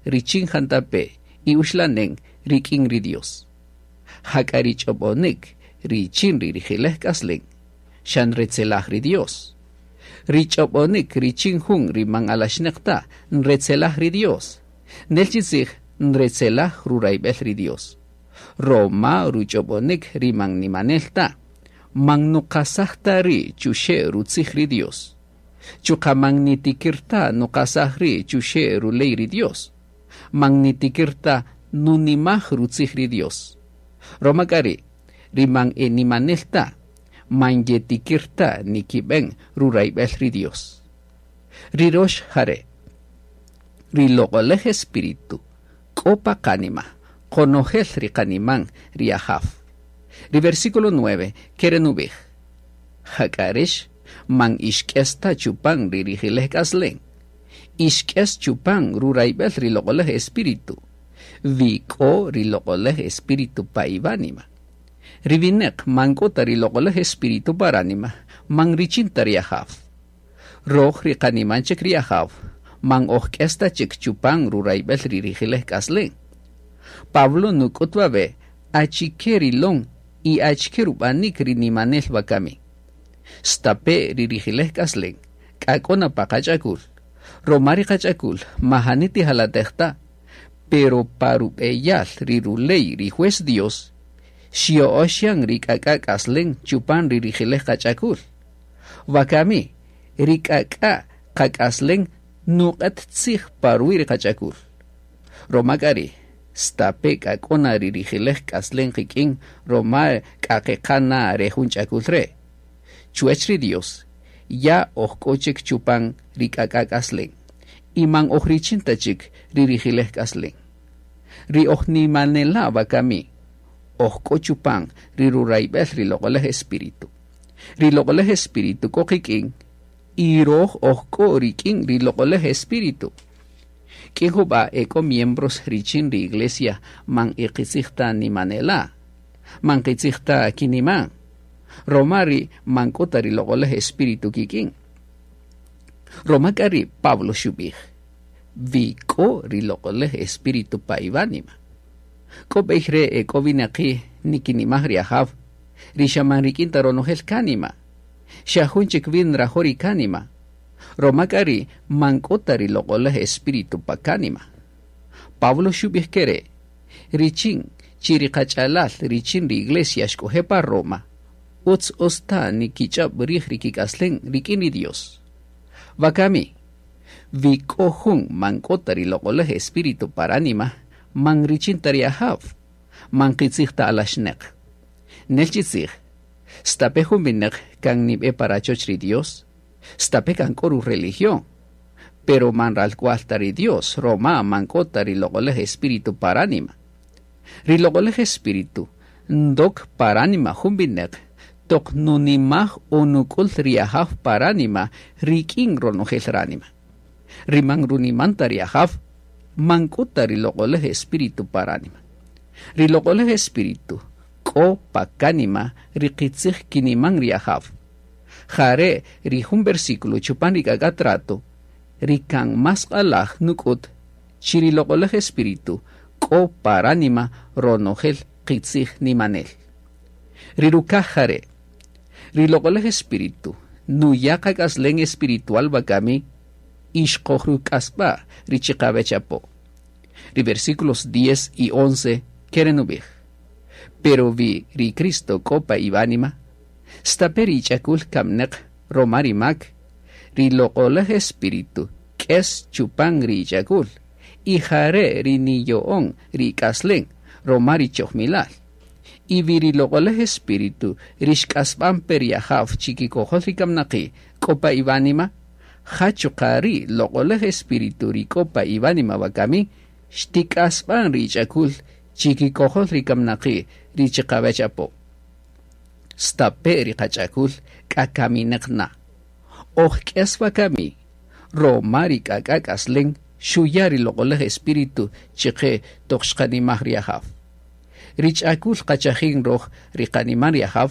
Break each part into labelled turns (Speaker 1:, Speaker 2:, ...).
Speaker 1: richin jantape' y uxlanen rik'in ri Dios. Jak'a ri ch'ob'onik richin ri rijilej k'aslen xa nretzelaj ri Dios. Ri ch'ob'onik richin jun ri man alaxneq ta nretzelaj ri Dios. Nel chi tzij nretzelaj rurayb'el ri Dios. Roma ruch'ob'onik ri man nimanel ta, man nuqasaj ta ri' chuxe' rutzij ri Dios. Chuqa' man nitikir ta nuqasaj ri' chuxe' ruley ri Dios. Man nitikir ta nunimaj rutzij ri Dios. Roma k'a ri', ri man e nimanel ta, man yetikir ta nikib'en rurayb'el ri Dios. Ri rox jare', ri Loq'olej Espíritu k'o pa qanima, qonojel ri qaniman ri Ajaw. Ri versículo 9 kere' nub'ij: Jak'a rix man ixk'es ta chupan ri rijilej k'aslen, ixk'es chupan rurayb'el ri Loq'olej Espíritu, wi k'o ri Loq'olej Espíritu pa iwánima. Ri wineq man k'o ta ri Loq'olej Espíritu pa ránima, man richin ta ri Ajaw. Roj ri qaniman chik ri Ajaw, man oj k'es ta chik chupan rurayb'el ri rijilej k'aslen. Pablo nuk'ut wawe' achike rilon y achike rub'anik ri nimanel wakami. Stape' ri rijilej k'aslen k'a k'o na pa qach'akul, roma ri qach'akul majani tijalatej ta, pero pa rub'eyal ri ruley ri juez Dios, xyo'ox yan ri k'ak'a' k'aslen chupan ri rijilej qach'akul. Wakami, ri k'ak'a' qak'aslen nuq'et tzij pa ruwi' ri qach'akul. Roma k'a ri', stape' k'a k'o na ri rijilej k'aslen qik'in roma k'a qeqa na re jun ch'akul re'. Chuwech ri Dios, ya oj k'o chik chupan ri k'ak'a' k'aslen, y man oj richin ta chik ri rijilej k'aslen. Ri oj nimanela' wakami, oj k'o chupan ri rurayb'el ri Loq'olej Espíritu. Ri Loq'olej Espíritu k'o qik'in y roj oj k'o rik'in ri Loq'olej Espíritu. K'in jub'a' e k'o miembros richin ri iglesia man e qitzij ta nimanela', man qitzij ta kiniman, roma ri' man k'o ta ri Loq'olej Espíritu kik'in. Roma k'a ri' Pablo xub'ij, Wi k'o ri Loq'olej Espíritu pa iwánima. K'o b'ey re' e k'o winaqi' nikinimaj ri Ajaw, ri xa man rik'in ta ronojel kánima, xa jun chik wi nrajo' ri kánima, roma k'a ri' man k'o ta ri Loq'olej Espíritu pa kánima. Pablo xub'ij kere', Richin chi ri qach'alal richin ri iglesia xk'oje' pa Roma, utz utz ta nikich'öb' rij ri kik'aslen rik'in ri Dios. Wakami, wi k'o jun man k'o ta ri Loq'olej Espíritu pa ránima, man richin ta ri Ajaw, man qitzij ta alaxneq. Nel chi tzij, stape' jun wineq kan nib'e pa rachoch ri Dios, stape' kan k'o ru-religión, pero man ralk'wal ta ri Dios roma man k'o ta ri Loq'olej Espíritu pa ránima. Ri Loq'olej Espíritu ndok pa ránima jun wineq toq nunimaj o nuk'ul ri Ajaw pa ránima rik'in ronojel ránima. Ri man runiman ta ri Ajaw, man k'o ta ri Loq'olej Espíritu pa ránima. Ri Loq'olej Espíritu k'o pa kánima ri qitzij kiniman ri Ajaw. Jare' ri jun versículo chupan ri k'ak'a' trato ri kan más q'alaj nuk'ut chi ri Loq'olej Espíritu k'o pa ránima ronojel qitzij nimanel. Ri rukaj jare', ri Loq'olej Espíritu nuya' qak'aslen espiritual wakami y xqojruk'asb'a' ri chiqawech apo. Ri versículos 10 y 11 kere' nub'ij, Pero wi ri Cristo k'o pa iwánima, stape' ri ich'akul kamneq roma ri mak, ri Loq'olej Espíritu k'es chupan ri ich'akul, y jare' ri niyo'on ri ik'aslen roma ri chojmilal. Y wi ri Loq'olej Espíritu ri xk'asb'an pe ri Ajaw chikikojol ri kamnaqi' k'o pa iwánima, ja chuqa' ri Loq'olej Espíritu ri k'o pa iwánima wakami xtik'asb'an ri ich'akul chikikojol ri kamnaqi' ri chiqawech apo. Stape' ri qach'akul k'a kamineq na, oj k'es wakami roma ri k'ak'a' k'aslen xuya' ri Loq'olej Espíritu chiqe toq xqanimaj ri Ajaw. Ri ch'akul qachajin roj ri qaniman ri Ajaw,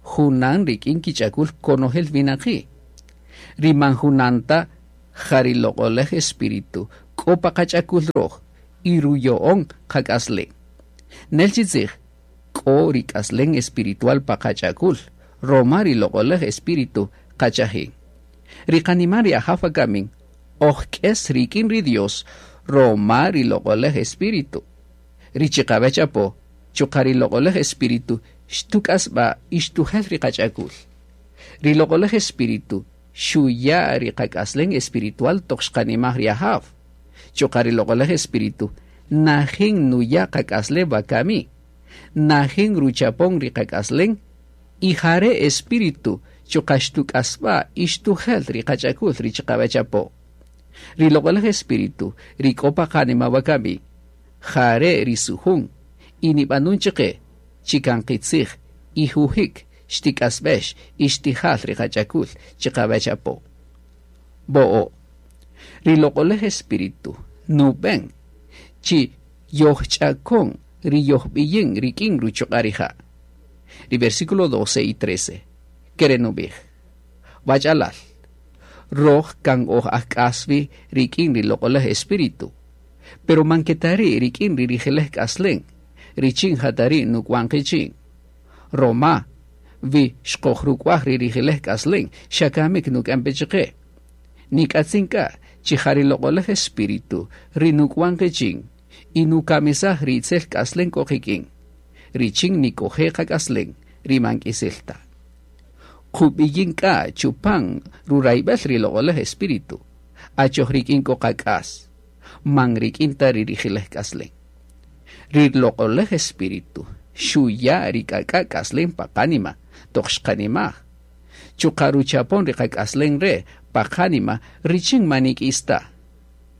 Speaker 1: junan rik'in kich'akul konojel winaqi'. Ri man junan ta ja ri Loq'olej Espíritu k'o pa qach'akul röj y ruya'on qak'aslen. Nel chi tzij, k'o ri k'aslen espiritual pa qach'akul, roma ri Loq'oläj Espíritu qachajin. Ri qaniman ri Ajaw wakamin, oj k'es rik'in ri Dios roma ri Loq'oläj Espíritu. Ri chiqawech apo, chuqa' ri Loq'oläj Espíritu xtuk'asb'a' y xtujel ri qach'akul. Ri Loq'oläj Espíritu xuya' ri qak'aslen espiritual toq xqanimaj ri Ajaw. Chuqa' ri Loq'oläj Espíritu najin nuya' qak'aslen wakami, najin ruchapon ri qak'aslen y ja re' Espíritu chuqa' xtuk'asb'a' y xtujel ri qach'akul ri chiqawech apo. Ri Loq'oläj Espíritu ri k'o pa qanima wakami, ja re' ri sujun y nib'anun chiqe chi kan qitzij y jujik xtik'asb'ex y xtijal ri qach'akul chiqawech apo. Bo'o'. Ri Loq'oläj Espíritu nub'en chi yojch'akon ri yojb'iyin rik'in ruchuq'a' rija'. Ri versículo 12 y 13 kere' nub'ij, Wach'alal, röj kan oj ajk'äs wi rik'in ri Loq'oläj Espíritu, pero man ke ta ri' rik'in ri rijiläj k'aslen richin ja ta ri' nuk'wan qichin. Roma wi xqojruk'waj ri rijiläj k'aslen xa kamik nuk'en pe chiqe. Nik'atzin k'a chi ja ri Loq'oläj Espíritu ri nuk'wan qichin y nukamisaj ri itzel k'aslen k'o qik'in, richin nik'oje' qak'aslen ri man k'isel ta. Qub'iyin k'a chupan rurayb'el ri Loq'oläj Espíritu, achoj rik'in k'o qak'as, man rik'in ta ri rijiläj k'aslen. Ri Loq'oläj Espíritu xuya' ri k'ak'a' k'aslen pa qánima toq xqanimaj. Chuqa' ruchapon ri qak'aslen re' pa qánima richin man nik'is ta.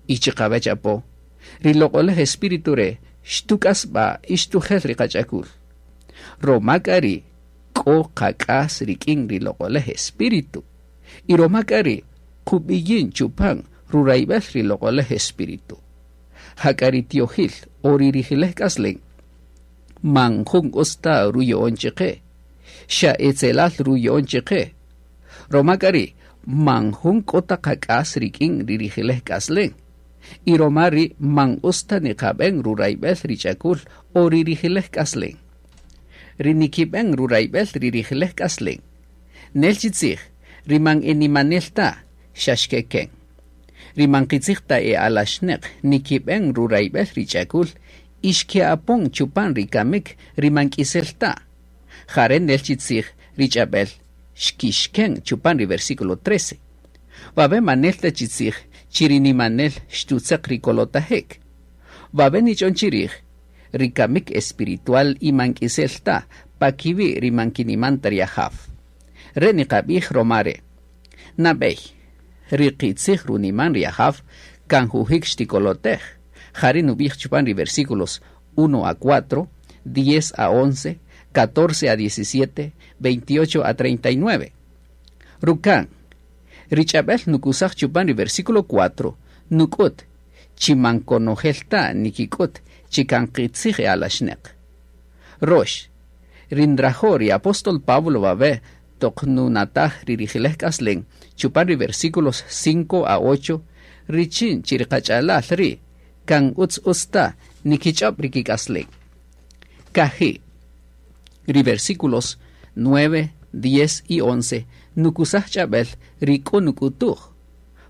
Speaker 1: Y chiqawech apo, ri Loq'oläj Espíritu re' xtuk'asb'a' y xtujel ri qach'akul. Roma k'a ri' k'o qak'as rik'in ri Loq'oläj Espíritu. Y roma k'a ri' qub'iyin chupan rurayb'el ri Loq'oläj Espíritu. Jak'a ri tiojil o ri rijiläj k'aslen man jun utz ta ruya'on chiqe, xa etzelal ruya'on chiqe. Roma k'a ri' man jun k'o ta qak'as rik'in ri rijiläj k'aslen. Y roma ri' man utz ta niqab'en rurayb'el ri ch'akul o ri rijiläj k'aslen. Ri nikib'en rurayb'el ri rijiläj k'aslen, nel chi tzij, ri man e nimanel ta, xa xkeken. Ri man qitzij ta e alaxneq nikib'en rurayb'el ri ch'akul y xke'apon chupan ri kamik ri man k'isel ta. Jare' nel chi tzij ri ch'ab'el xkixken chupan ri versículo 13. Wawe' man nel ta chi tzij chi ri nimanel xtutzeq ri kolotajik. Wawe' nich'on chirij ri kamik espiritual y man k'isel ta pa kiwi' ri man kiniman ta ri Ajaw. Re' niqab'ij roma re'. Nab'ey, ri qitzij runiman ri Ajaw kan jujik xtikolotej. Jari' nub'ij chupan ri versículos 1 a 4, 10 a 11, 14 a 17, 28 a 39. Ruka'n, ri ch'ab'äl nukusaj chupan ri versículo 4 nuk'üt chi man konojel ta nikik'üt chi kan qitzij e alaxneq. Rox, ri nrajo' ri apóstol Pablo wawe' toq nunataj ri rijiläj k'aslen chupan ri versículos 5 a 8 richin chi ri qach'alal ri' kan ütz ütz ta nikich'öb' ri kik'aslen. Kaji', ri versículos 9, 10 y 11 nukusaj ch'ab'äl ri k'o nuk'utuj.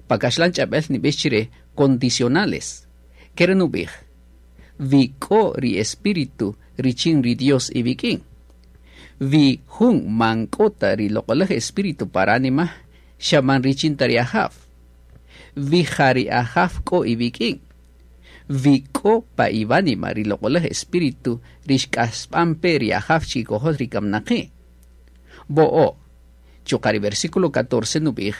Speaker 1: Pa kaxlan ch'ab'äl nib'ix chi re condicionales. Ke re' nub'ij, Wi k'o ri Espíritu richin ri Dios iwik'in. Wi jun man k'o ta ri Loq'oläj Espíritu pa ránima, xa man richin ta ri Ajaw. Wi ja ri Ajaw k'o iwik'in. Wi k'o pa iwánima ri Loq'oläj Espíritu ri xk'asb'an pe ri Ajaw chikikojol ri kamnaqi'. Bo'o', chuqa' ri versículo 14 nub'ij,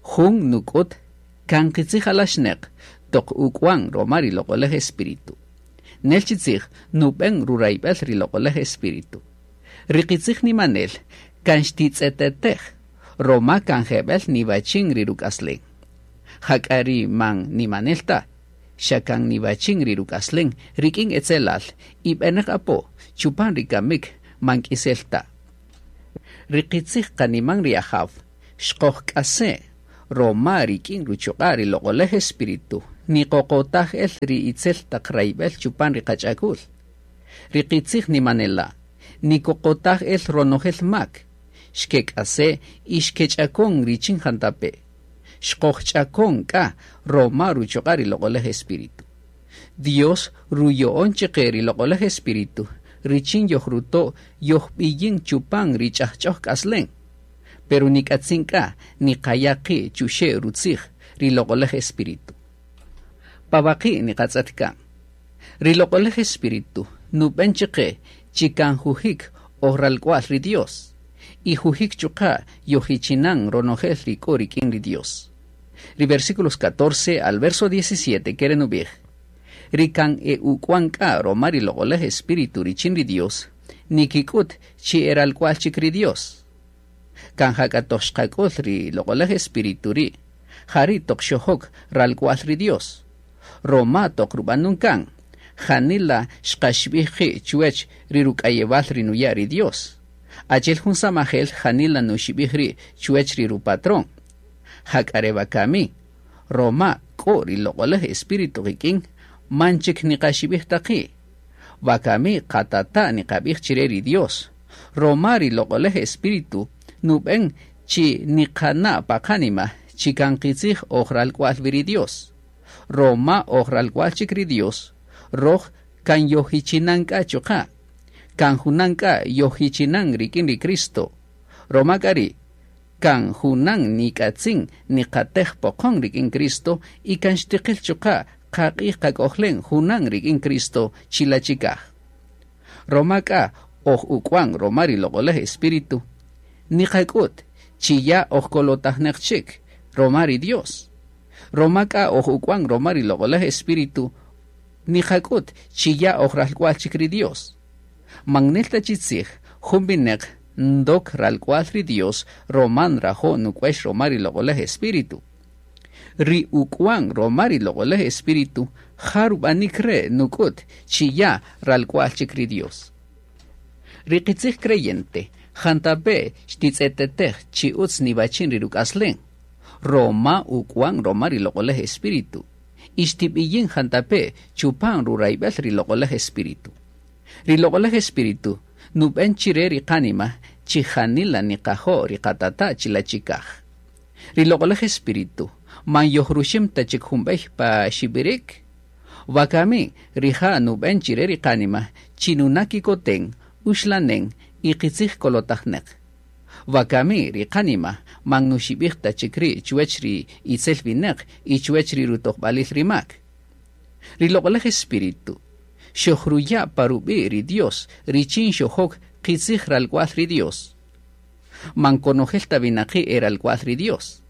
Speaker 1: Jun nuk'ut kan qitzij alaxneq toq uk'wan roma ri Loq'oläj Espíritu. Nel chi tzij nub'en rurayb'el ri Loq'oläj Espíritu. Ri qitzij nimanel kan xtitz'etetej roma kan jeb'ël niwachin ri ruk'aslen. Jak'a ri man nimanel ta, xa kan niwachin ri ruk'aslen rik'in etzelal y b'enäq apo chupan ri kamik man k'isel ta. Ri qitzij qaniman ri Ajaw xqojk'ase' roma rik'in ruchuq'a' ri Loq'oläj Espíritu. Niqoqotaj el ri itzel taq rayb'el chupan ri qach'akul. Ri qitzij nimanela', nikoqotaj el ronojel mak, xkek'ase' y xkech'akon richin jantape'. Xqojch'akon k'a roma ruchuq'a' ri Loq'olej Espíritu. Dios ruyo'on chiqe ri Loq'olej Espíritu richin yojruto' yojb'iyin chupan ri ch'ajch'oj k'aslen. Pero nik'atzin k'a niqaya' qi' chuxe' rutzij ri Loq'olej Espíritu. Pa waqi' niqatz'et kan. Ri Loq'olej Espíritu nub'en chiqe chi kan jujik oj ralk'wa'l ri Dios y jujik chuqa' yojichinan ronojel ri k'o rik'in ri Dios. Ri versículos 14 al verso 17 kere nub'ij: Ri kan e uk'wan k'a roma ri Loq'olej Espíritu richin ri Dios, nikik'ut chi e ralk'wa'l chik ri Dios. Kan jak'a toq xqak'ul ri Loq'olej Espíritu ri', jari' toq xojok ralk'wa'l ri Dios. Roma toq rub'anun kan, janila xqaxib'ij qi' chuwech ri ruk'ayewal ri nuya' ri Dios. Achi'el jun samajel janila nuxib'ij ri' chuwech ri rupatrón. Jak'a re wakami, roma k'o ri Loq'olej Espíritu qik'in, man chik niqaxib'ij ta qi'. Wakami qatata' niqab'ij chire ri Dios, roma ri Loq'olej Espíritu nub'en chi niqana' pa qanima chi kan qitzij oj ralk'wa'l wi ri Dios. Roma oj ralk'wa'l chik ri Dios, roj kan yojichinan k'a chuqa'. Kan junan k'a yojichinan rik'in ri Cristo. Roma k'a ri' kan junan nik'atzin niqatej poqon rik'in Cristo y kan xtiqil chuqa' qaq'ij qak'ojlen junan rik'in Cristo chila' chikaj. Roma k'a oj uk'wan roma ri Loq'olej Espíritu, niqak'ut chi ya oj kolotajneq chik roma ri Dios. Roma k'a oj uk'wan roma ri Loq'olej Espíritu, niqak'ut chi ya oj ralk'wa'l chik ri Dios. Man nel ta chi tzij jun wineq ndok ralk'wa'l ri Dios roma nrajo' nuk'uex roma ri Loq'olej Espíritu. Ri uk'wan roma ri Loq'olej Espíritu ja rub'anik re' nuk'ut chi ya ralk'wa'l chik ri Dios. Ri qitzij creyente jantape' xtitz'etetej chi utz niwachin ri ruk'aslen, roma uk'wan roma ri Loq'olej Espíritu, y xtib'iyin jantape' chupan rurayb'el ri Loq'olej Espíritu. Ri Loq'olej Espíritu nub'en chire ri qanima chi janila niqajo' ri qatata' chila' chikaj. Ri Loq'olej Espíritu man yojruxim ta chik jun b'ey pa xib'irik. Wakami rija' nub'en chire ri qanima chi nuna' kikoten, uxlanen y qitzij kolotajneq. Wakami ri qanima man nuxib'ij ta chik ri' chuwech ri itzel wineq y chuwech ri rutojb'alil ri mak. Ri Loq'olej Espíritu xojruya' pa rub'i' ri Dios richin xojok qitzij ralk'wa'l ri Dios. Man konojel ta winaqi' e ralk'wa'l ri Dios.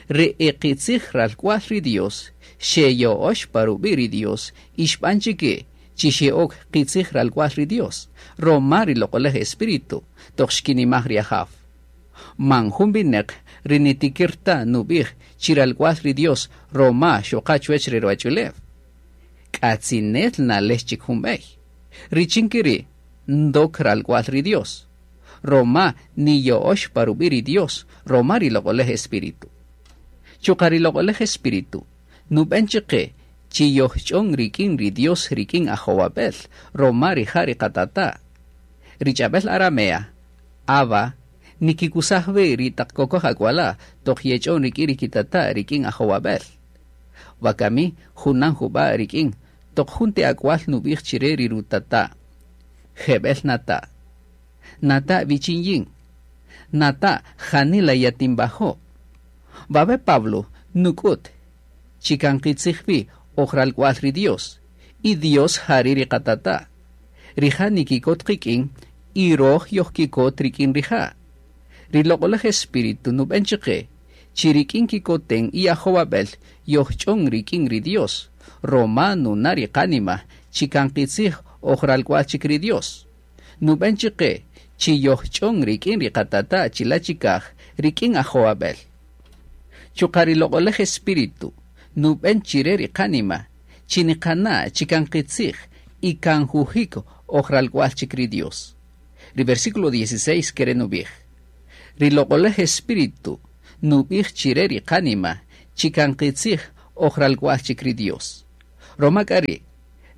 Speaker 1: Ri e qitzij ralk'wa'l ri Dios xeyo'ox pa rub'i' ri Dios y xb'an chike chi xe'ok qitzij ralk'wa'l ri Dios, roma ri Loq'olej Espíritu toq xkinimaj ri Ajaw. Man jun wineq ri nitikir ta nub'ij chi ralk'wa'l ri Dios roma xoqa chuwech re ruwach'ulew. K'atzinel nalex chik jun b'ey. Richin ke ri' ndok ralk'wa'l ri Dios. Roma niyo'ox pa rub'i' ri Dios, roma ri Loq'olej Espíritu. Chuqa' ri Loq'olej Espíritu nub'en chiqe chi yojch'on rik'in ri Dios rik'in ajowab'el, roma rija' ri qatata'. Ri ch'ab'el aramea, Abba, nikikusaj wi ri taq kokoj ak'wala' toq yech'on rik'in ri kitata' rik'in ajowab'el. Wakami junan jub'a' rik'in toq jun ti ak'wal nub'ij chire ri rutata': Jeb'el nata'. Nata' wichin yin. Nata' janila yatinwajo'. Wawe' Pablo nuk'ut chi kan qitzij wi oj ralk'wa'l ri Dios, y Dios jari' ri qatata'. Rija' nikikot qik'in y roj yojkikot rik'in rija'. Ri Loq'olej Espíritu nub'en chiqe chi rik'in kikoten y ajowab'el yojch'on rik'in ri Dios, roma nuna' ri qanima chi kan qitzij oj ralk'wa'l chik ri Dios. Nub'en chiqe chi yojch'on rik'in ri qatata' chila' chikaj rik'in ajowab'el. Chuqa' ri Loq'olej Espíritu nub'en chire ri qanima chi niqana' chi kan qitzij y kan jujik oj ralk'wa'l chik ri Dios. Ri versículo 16 kere nub'ij: Ri Loq'olej Espíritu nub'ij chire ri qanima chi kan qitzij oj ralk'wa'l chik ri Dios. Roma k'a ri',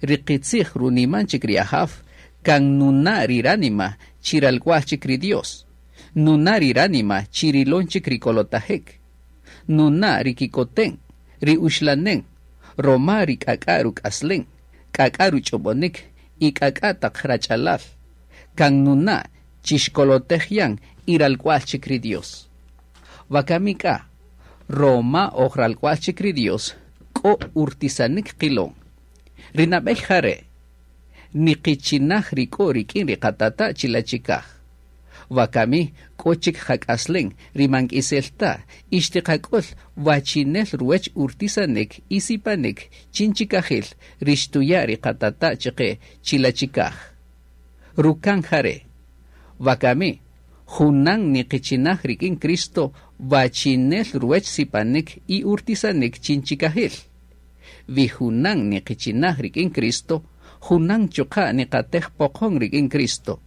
Speaker 1: ri qitzij runiman chik ri Ajaw kan nuna' ri ránima chi ralk'wa'l chik ri Dios, nuna' ri ránima chi rilon chik ri kolotajik, nuna' ri kikoten, ri uxlanen, roma ri k'ak'a' ruk'aslen, k'ak'a' ruch'ob'onik y k'ak'a' taq rach'alal, kan nuna' chi xkolotej yan y ralk'wa'l chik ri Dios. Wakami k'a, roma oj ralk'wa'l chik ri Dios, k'o urtisanik qilon. Ri nab'ey ja re', niqichinaj ri k'o rik'in ri qatata' chila' chikaj. Wakami k'o chik qak'aslen ri man k'isel ta y xtiqak'ul wachinel ruwech urtisanik y sipanik chin chikajil ri xtuya' ri qatata' chiqe chila' chikaj. Rukan ja re', wakami junan niqichinaj rik'in Cristo wachinel ruwech sipanik y urtisanik chin chikajil. Wi junan niqichinaj rik'in Cristo, junan chuqa' niqatej poqon rik'in Cristo.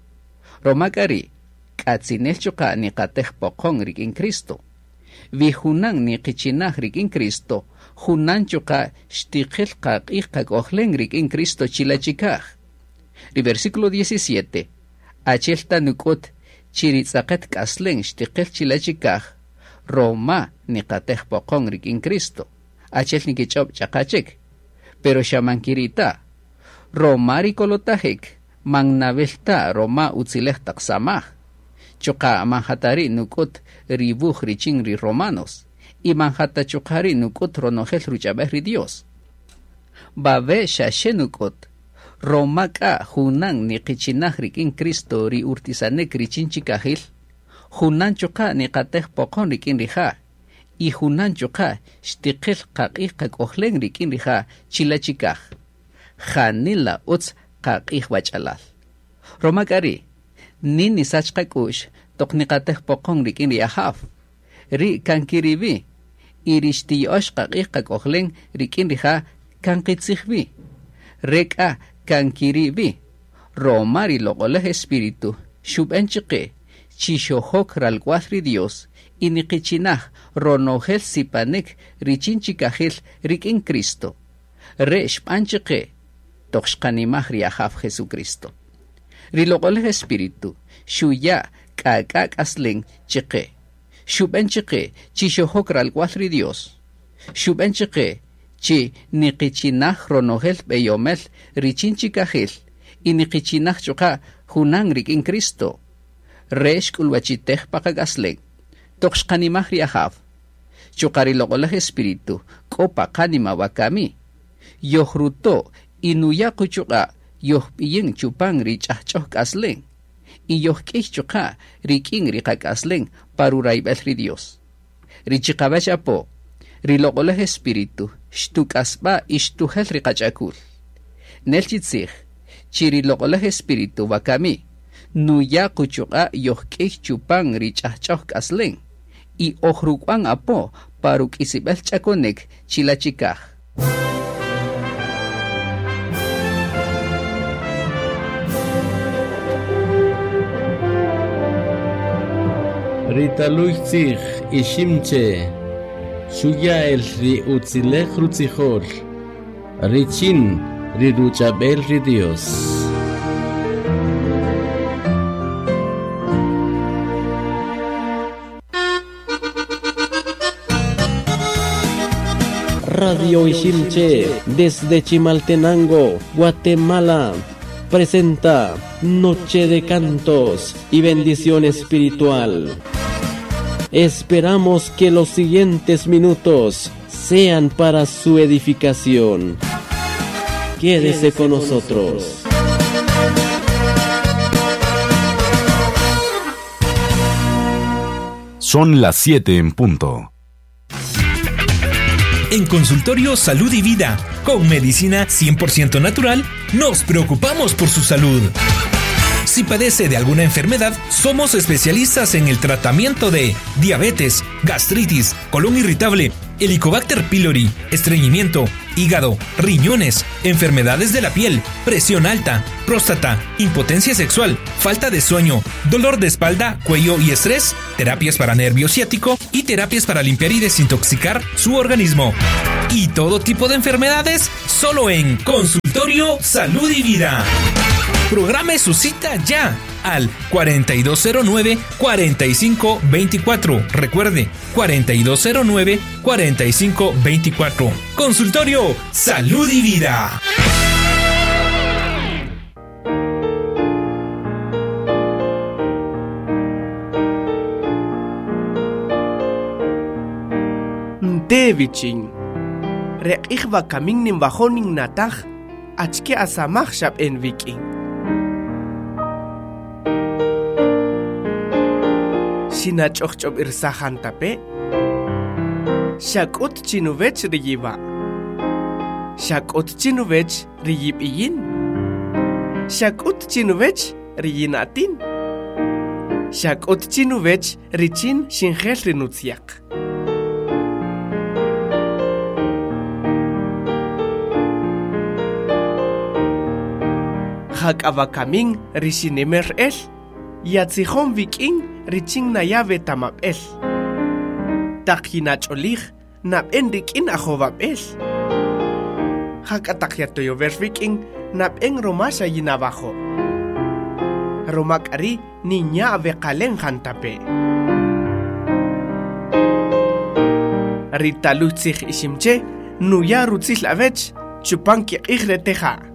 Speaker 1: Roma k'a ri', k'atzinel chuqa' niqatej poqon rik'in Cristo. Wi junan niqichinaj rik'in Cristo, junan chuqa' xtiqil qaq'ij qak'ojlen rik'in Cristo chila' chikaj. Ri versículo 17, achi'el ta nuk'ut chi ri tz'aqet k'aslen xtiqil chila' chikaj, roma niqatej poqon rik'in Cristo. Achi'el nikich'ob' ch'aqa chik, pero xa man kiri' ta. Roma ri kolotajik man nawil ta roma utzilej taq samaj. Chuqa' man ja ta ri' nuk'ut ri wuj richin ri Romanos, y man ja ta chuqa' ri' nuk'ut ronojel ruch'ab'el ri Dios. Wawe' xa xe nuk'ut, roma k'a junan niqichinaj rik'in Cristo ri urtisanik richin chikajil, junan chuqa' niqatej poqon rik'in rija', y junan chuqa' xtiqil qaq'ij qak'ojlen rik'in rija' chila' chikaj. Janila utz qaq'ij wach'alal. Roma k'a ri', nin nisach qak'u'x toq niqatej poqon rik'in ri Ajaw. Ri' kan kiri' wi, y ri xtiya'ox qaq'ij qak'ojlen rik'in rija' kan qitzij wi. Re k'a kan kiri' wi, roma ri Loq'olej Espíritu xub'en chiqe chi xojok ralk'wa'l ri Dios y niqichinaj ronojel sipanik richin chikajil rik'in Cristo. Re' xb'an chiqe toq xqanimaj ri Ajaw Jesucristo. Ri Loq'olej Espíritu xuya' k'ak'a' k'aslen chiqe. Xub'en chiqe chi xojok ralk'wa'l ri Dios. Xub'en chiqe chi niqichinaj ronojel b'eyomel richin chikajil y niqichinaj chuqa' junan rik'in Cristo. Re' xk'ulwachitej pa qak'aslen. Toq xqanimaj ri Ajaw. Chuqa' ri Loq'olej Espíritu k'o pa qánima wakami. Yojruto' y nuya' quchuq'a' yojb'iyin chupan ri ch'ajch'oj k'aslen. Y yojk'iy chuqa' rik'in ri qak'aslen pa rurayb'el ri Dios. Ri chiqawech apo, ri Loq'olej Espíritu xtuk'asb'a y xtujel ri qach'akul. Nel chi tzij, chi ri Loq'olej Espíritu wakami, nuya' quchuq'a' yojk'iy chupan ri ch'ajch'oj k'aslen y ojruk'wan apo pa ruk'isib'el ch'akonik chila' chikaj.
Speaker 2: Ri taluy tzij Iximche, xuya' el ri utzilej rutzijol, richin ri ruch'ab'el ri Dios. Radio Iximche, desde Chimaltenango, Guatemala, presenta Noche de Cantos y Bendición Espiritual. Esperamos que los siguientes minutos sean para su edificación. Quédese con nosotros.
Speaker 3: Son las 7 en punto.
Speaker 4: En Consultorio Salud y Vida, con medicina 100% natural, nos preocupamos por su salud. Si padece de alguna enfermedad, somos especialistas en el tratamiento de diabetes, gastritis, colon irritable, Helicobacter pylori, estreñimiento, hígado, riñones, enfermedades de la piel, presión alta, próstata, impotencia sexual, falta de sueño, dolor de espalda, cuello y estrés, terapias para nervio ciático y terapias para limpiar y desintoxicar su organismo. y todo tipo de enfermedades solo en Consultorio Salud y Vida. Programe su cita ya al 4209-4524. Recuerde, 4209-4524. Consultorio Salud y Vida.
Speaker 5: Ntevichin. Req'ij wakamin ninwajo' ninnataj achike asamaj xab'en wik'in. Xinach'ojch'ob'irsaj jantape', xak'ut chinuwech ri yiwa', xak'ut chinuwech ri yib'iyin, xak'ut chinuwech ri yina'tin, xak'ut chinuwech richin xinjel ri nutzyaq. Jak'a wakamin ri xinimer el, yatzijon wik'in richin naya' wetamab'el. Taq yinach'olij, nab'en rik'in ajowab'el. Jak'a taq yatoyower wik'in, nab'en roma xa yinawajo'. Roma k'a ri' ninya' aweqalen jantape'. Ri taluy tzij Iximche' nuya' rutzil awech chupan kiq'ij re teja'.